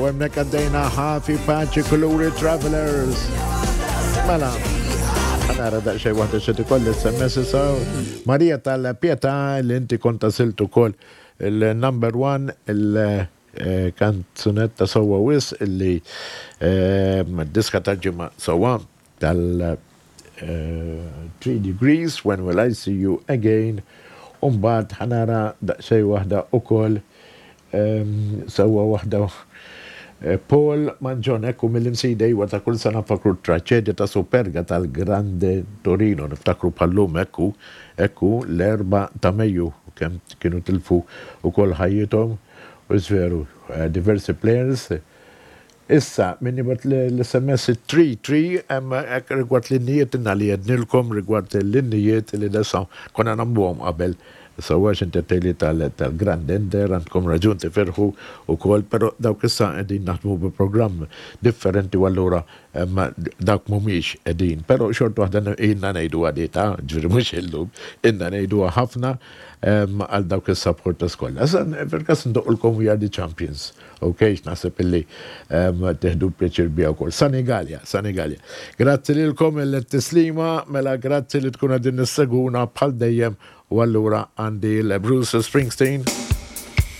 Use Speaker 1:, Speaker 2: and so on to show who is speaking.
Speaker 1: U hemmhekk għaddejna ħafi paċi kuluri travelers. Mela, nara daqsxejn waħda xi tikolli SMS issa. Marija tal-Pietà li inti kont għażilt ukoll il-number one il-kanzunetta sewwa wisq illi diska tal-ġimgħa sewwa tal 3 Degrees, When Will I See You Again, u mbagħad ħa nara daqsxejn waħda ukoll sewwa waħda Paul Mangion, ekku mill-Imsida iwa ta' kull sena nfakru t-traċedja ta' Superga tal-Grande Torino, niftakru bħal-lum ekku, ekku l-Erbgħa ta' Mejju kemm kienu tilfu ukoll ħajjithom u veru diversi players. Issa, min jibgħat l-SMS 33 hemm hekk rigward l-innijiet inna li għednilkom rigward l-innijiet li nistgħu konna nagħmluhom qabel sewwa għax inti għedtli tal-Grand Ender għandkom raġun tifirħu wkoll però dawk issa qegħdin naħdmu bi programm differenti u allura dawk mhumiex qegħdin però xorta waħda ilna ngħiduha di ta' ġifieri mhux illum ilna ngħiduha ħafna għal dawk is-supporters kollha. Issa fil-każ ndoqqulkom We Are The Champions. Ok, naħseb illi tieħdu pjaċir biha wkoll. Sanigalja, Sanigalja. Grazzi lilkom il-tislima, mela grazzi li tkun qegħdin nisseguna bħal dejjem u allura għandi l-Bruce Springsteen.